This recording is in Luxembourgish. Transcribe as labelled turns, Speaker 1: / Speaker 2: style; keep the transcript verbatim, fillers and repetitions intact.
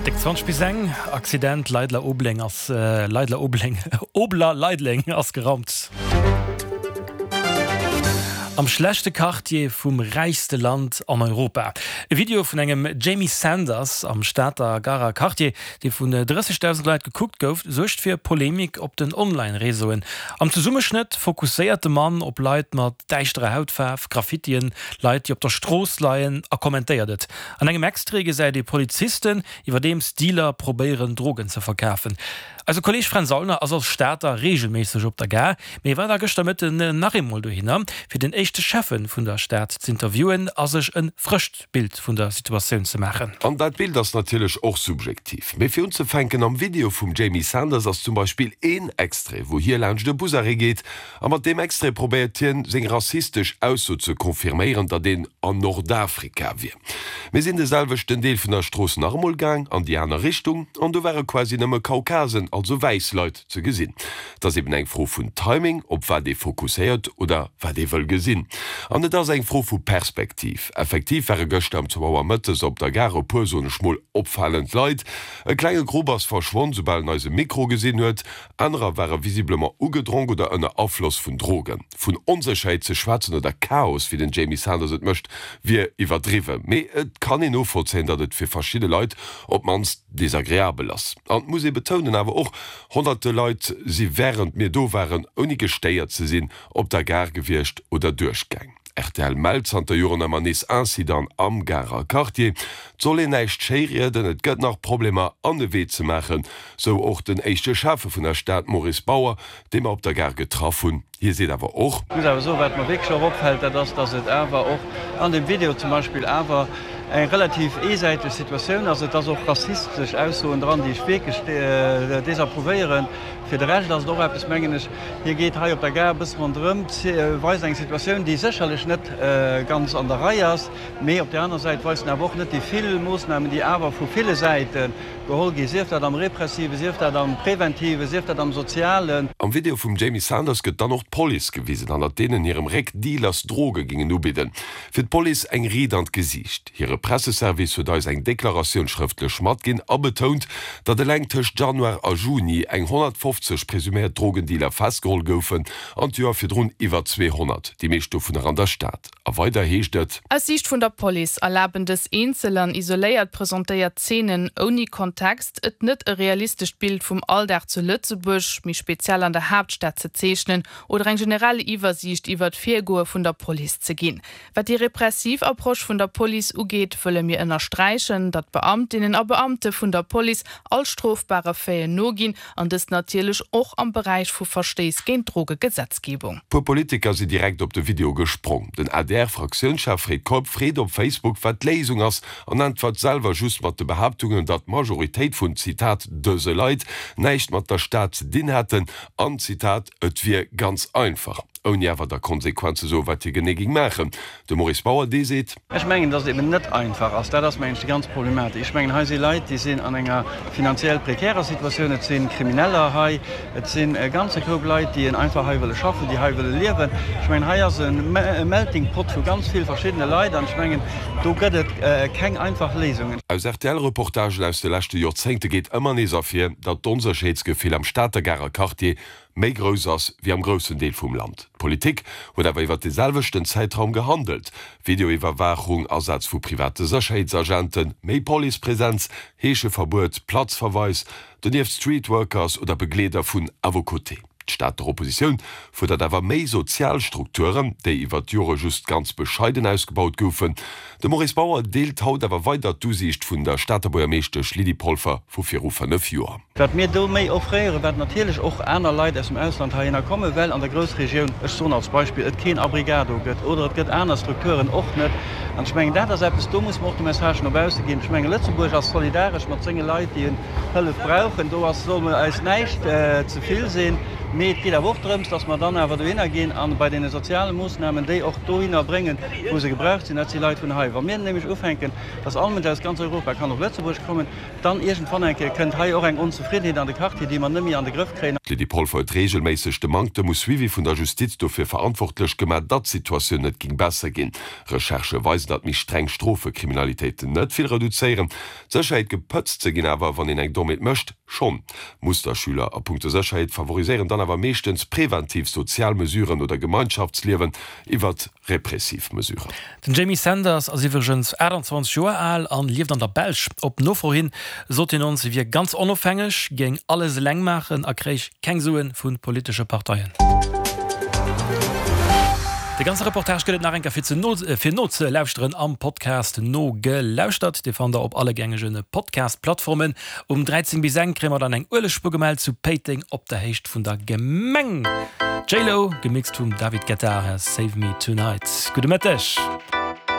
Speaker 1: Déck zwanzeg bis eng, Accident, Leidler Obleng ass Leidler Obleng Obler Leideleng ass geraumt. Am schlechte Quartier vum räichste Land an Europa. E Video vun engem Jamie Sanders am Stater Garer Quartier, dee vun drëssegdausend Leit gekuckt gouf, suergt fir Polemik op den Online-Reseauen. Am Zesummeschnëtt fokusséiert de Mann op Leit mat däischterer Hautfaarf, Graffitien, Leit, déi op der Strooss leien a kommentéiert et. An engem Extrait gesäit ee Polizisten, iwwerdeems Dealer probéieren, Drogen ze verkafen. Eise Kolleeg Fränz Aulner ass als Stater reegelméisseg op der Gare, mee war da gëschter Mëtten nach eemol dohinner, fir den éischte Schäffe vun der Stad z'interviewen a sech e frëscht Bild vun der Situatioun ze maachen.
Speaker 2: An dat Bild ass natierlech och subjektiv. Mee fir unzefänken, am Video vum Jamie Sanders ass zum Beispill een Extrait, wou hie laanscht e Busarrêt geet, a mat deem Extrait probéiert hien, seng rassistesch Ausso ze confirméieren, datt een an Nordafrika wier. Mir sinn de selwechten Deel vun der Strooss nach emol gaang, an déi aner Richtung, an do ware quasi nëmme Kaukasen, also wäiss Leit, ze gesinn. Et ass eben eng Fro vun Timing, op wat ee fokusséiert oder wat ee wëll gesinn. An et ass eng Fro vu Perspektiv. Effektiv ware gëschter ëm zwou Auer mëttes op der Gare e puer, soen ech mol, opfalend Leit. E klenge Grupp ass verschwonn, soubal en eise Mikro gesinn huet. Anerer ware visiblement ugedronk oder ënner Afloss vun Drogen. Vun Onsécherheet ze schwätzen oder Chaos, wéi den Jamie Sanders et mécht, wier iwwerdriwwen. Mee et kann een novollzéien, datt et fir verschidde Leit op d'mannst desagreabel ass. An et muss ee betounen awer och, Honnerte Leit si wärend mir do waren, ouni gestéiert ze sinn, op der Gare gewiescht oder duerchgaang. Rtl mellt zanter Joren ëmmer nees Incidenten am Garer Quartier. Et soll een näischt schéirieden, et gëtt nach Problemer an e Wee ze maachen, sou och den éischte Schäffe vun der Stad Maurice Bauer, dee mer op der Gare getraff hunn. Hie seet awer och.
Speaker 3: Ech muss awer soen, wat mer wierklech och opfält, dat ass, dass et awer och an deem Video zum Beispill awer eng relativ eesäiteg Situatioun ass. Et ass och rassistesch Aussoen dran, déi ech wierklech desapprouvéieren. Fir de Rescht ass et och eppes, mengen ech, hie geet hei op der Gare e bësse ronderëm, weist eng Situatioun, déi sécherlech net ganz an der Rei ass, mee op där aner Säit weist en awer och net déi vill Moossnamen, déi awer vu ville Säite geholl ginn, sief dat am Repressiven, sief dat am Preventiven, sief dat am Sozialen.
Speaker 2: Am Video vum Jamie Sanders gëtt dann och d'Police gewisen, hannert deenen hirem Réck Dealers Droge gingen ubidden. Fir d'Police eng Riit an d'Gesiicht. Hire Presseservice huet eis eng Deklaratioun schrëftlech matginn a betount, datt eleng tëscht Januar a Juni eng honnertfofzeg presuméiert Drogendealer festgeholl goufen an d'Joer virdrun iwwer zweehonnert, déi meescht dovunner an der Stad. A weider heescht et.
Speaker 4: Aus Siicht vun der Police erlaben dës eenzel an isoléiert presentéiert Zeenen ouni Kontext et net e realistescht Bild vum Alldag zu Lëtzebuerg, méi speziell an der Haaptstad ze zeechnen oder eng generell Iwwersiicht iwwert d'Virgoe vun der Police ze ginn. Wat déi repressiv Approche vun der Police ugeet, wëlle mir ënnersträichen, datt Beamtinnen a Beamte vun der Police all strofbare Faiten noginn, an dëst natierlech och am Beräich vu Verstéiss géint d'Drogegesetzgebung.
Speaker 2: Puer Politiker si direkt op de Video gesprong. Den A D R Fraktiounschef Fred Keup freet op Facebook, wat d'Léisung ass an äntwert selwer just mat de Behaaptungen, datt d'Majoritéit vun, Zitat, dëse Leit näischt mat der Stad ze dinn hätten an, Zitat, et wier ganz einfach. Ouni awer da konsequent ze soen, wat hie genee géing maachen. De Maurice Bauer, dee seet.
Speaker 3: Ech mengen, datt et eben net einfach ass. Dat ass, mengen ech, déi ganz Problematik. Ech mengen, hei si Leit, déi sinn an enger finanziell prekärer Situatioun. Et si Krimineller hei. Et sinn e ganze Koup Leit, déi einfach hei wëlle schaffen, déi hei wëlle liewen. Ech mengen, hei ass e Melting Pot vu ganz vill verschiddene Leit an ech mengen, do gëtt et keng einfach Léisungen.
Speaker 2: Aus R T L-Reportagen aus de leschte Joerzéngte geet ëmmer nees ervir, datt d'Onsécherheetsgefill am Stater Garer Quartier méi grouss ass wéi am groussen Deel vum Land. D'Politik huet awer iwwer de selwechten Zäitraum gehandelt, Videoiwwerwaachung, Asaz vu private Sécherheetsagenten, méi Policepresenz, Heescheverbuet, Platzverweis, donieft Streetworkers oder Begleeder vun À vos côtés. D'Stater Oppositioun fuerdert awer méi sozial Strukturen, déi iwwer d'Jore just ganz bescheiden ausgebaut goufen. De Maurice Bauer deelt haut awer weider d'Usiicht vun der Stater Buergermeeschtesch Lydie Polfer vu viru fënnef Joer.
Speaker 3: Wat mir do méi offréieren, wat natierlech och aner Leit aus dem Ausland heihinner kommen, well an der Groussregioun, ech soen als Beispill, et keen Abrigado gëtt oder et gëtt aner Strukturen och net. An ech mengen, dat ass eppes, do muss mer och de Message no bausse ginn. Ech mengen, Lëtzebuerg ass solidaresch mat senge Leit, déi Hëllef brauchen. Do ass, soll mer eis näischt ze vill sinn. Mee et geet awer och drëms, dass mer dann awer dohinner ginn a bei deene soziale Moossnamen déi och dohinner bréngen, wou se gebraucht sinn, dat si Leit vun hei. Wa mir nämlech ufänken, dass all Mënsch aus ganz Europa kann op Lëtzebuerg kommen, dann iergendwann eng Kéier kënnt hei och eng Onzefriddenheet an de Quartier, déi mer net méi an de Grëff kréien.
Speaker 2: D'Lydie Polfer huet reegelméisseg de Manktem u Suivi vun der Justiz dofir verantwortlech gemaach, datt d'Situatioun net géing besser ginn. Recherchë weisen, datt méi streng Strofe Kriminalitéiten net vill reduzéieren. D'Sécherheet gepëtzt ze ginn awer, wann een eng Dommheet mécht, schonn. Musterschüler a punkto Sécherheet favoriséieren dann awer meeschtens preventiv sozial Mesuren oder Gemeinschaftsliewen iwwert repressiv Mesuren.
Speaker 1: Den Jamie Sanders ass iwwregens aachtanzwanzeg Joer al an lieft an der Belsch. Op Nofro hin sot hien ons, hie wier ganz onofhängeg, géing alles eleng maachen a kréich keng Suen vu politesche Parteien. De ganze Reportage gëtt et nach eng Kéier fir ze no fir nozelauschteren am Podcast Nogelauschtert. Dee fannt der op alle gängege Podcast-Plattformen. Um dräizéng bis eng kréie mer dann eng Uelegspuer gemellt zu Péiteng op der Héicht vun der Gemeng. J-Lo, gemixt vum David Guetta, Save Me Tonight. Gudde Mëtteg.